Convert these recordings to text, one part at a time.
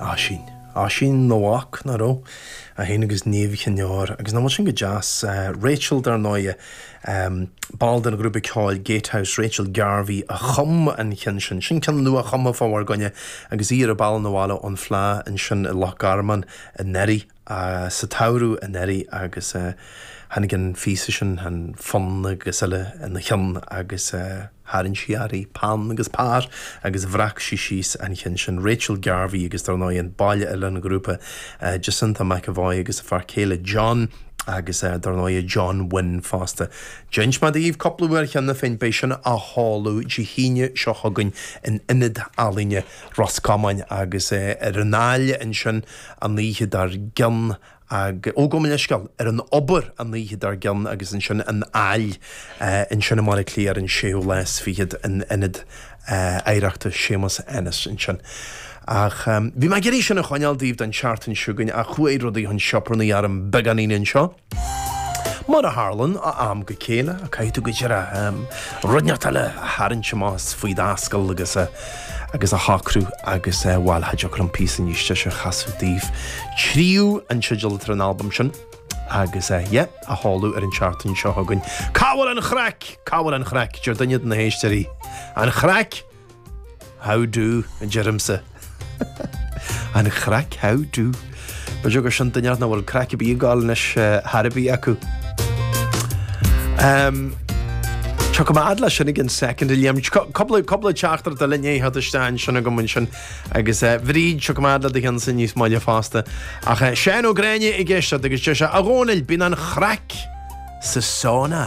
Oisín. Oisín Nowak, nach raibh? É féin agus Niamh Chinn Óir. Agus nach bhfuil sin go deas? Rachel, dar ndóighe, ball den ghrúpa ceoil Gatehouse, Rachel Garvey, a chum an ceann sin. Sin ceann nua-chumtha fá bhur gcoinne agus í ar a bealach 'na bhaile ón Fleadh ansin i Loch Garman anuraidh. sa tsamhradh anuraidh agus tháinig an phíosa sin, an fonn agus eile ina cheann agus tharraing sí uirthi peann agus pár agus bhreac sí síos an cheann sin. Rachel Garvey agus dar ndóigh an ball eile den ghrúpa Jacinta McEvoy agus a fear céile John agus dar ndóigh John Wynne fosta. D'inis mé daoibh cúpla uair cheana féin, beidh sin á sheoladh Dé hAoine seo chugainn in Ionad Ealaíne Ros Comáin agus ar an Aill ansin an oíche dár gcionn ag, ó gabh mo leithscéal, ar an Obair an oíche dár gcionn agus ansin an Aill ansin i mBaile Átha Cliath ar an séú lá is fichead in Ionad Oidhreachta Séamus Ennis ansin. Ach bhí mé ag iarraidh sin a choinneáil daoibh don tseachtain seo chugainn ach chuaigh rudaí chun sioparnaí orm beagáinín anseo. Mar a tharlann ó am go chéile, caithfidh tú go díreach rud inteacht eile a tharraingt amach as faoi d'ascaill agus a agus a shocrú agus bhuel, cha dtiocfadh liom píosa níos deise a chasadh daoibh. Tríú an teideal atá ar an albam sin agus yeah, á sheoladh ar an tseachtain seo chugainn. Cá bhfuil an chraic? Cá bhfuil an chraic? Deir duine de na héisteoirí. An chraic? How do, a deirimse. An chraic, how do. B'fhéidir gur sin duine nach bhfuil craic ar bith ag gabháil anois thar a bith acu. Um, Tiocfaidh mé fhad leis sin again second a Liam. Cúpla cúpla teachtaireacht eile i ndiaidh theacht isteach ansin agam ansin agus uh, Bhríd tiocfaidh mé fhad le do cheannsa níos moille fosta. Ach uh, Seán Ó Gráinne ag éisteacht agus deir sé a Dhónaill bíonn an chraic sa sauna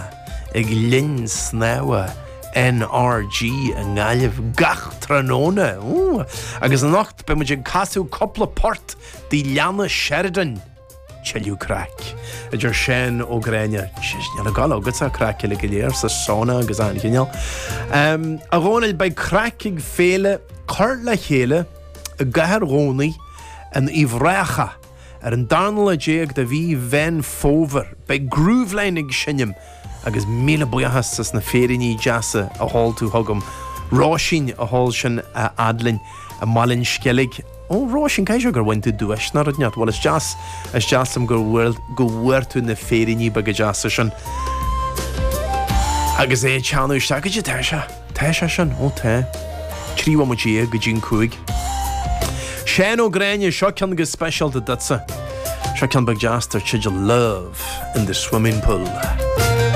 ag linn snámha NRG i nGaillimh gach tráthnóna. Ooh. Agus anocht beidh muid ag casadh cúpla port de Leanna Sheridan. Tuilleadh craic. A deir Seán Ó Gráinne. Jeez, níl ag gabháil agatsa craic uile go léir sa sauna agus an chineál. Um, a Dhónaill, beidh craic ag féile Cur le Chéile i gCathair Dhomhnaigh in Uíbh Ráthach Ar an darna lá déag de mhí Mheán Fómhair, beidh Grooveline ag seinm agus míle buíochas as na féiríní deasa a sheol tú chugam. Róisín a sheol sin a fhad linn i mBaile an Sceilg. Ó, Róisín, caithfidh sé gur bhain tú duais nó rud inteacht. Bhuel, is deas, is deas liom go bhfuair, go bhfuair tú na féiríní beaga deasa sin. Agus é ag teannadh isteach, goidé tá sé? Tá sé sin, ó tá. 13 bhomaite go dtí an 5. Seán Ó Gráinne, seo ceann go speisialta duitse. Seo ceann beag deas dar teideal Love in the Swimming Pool.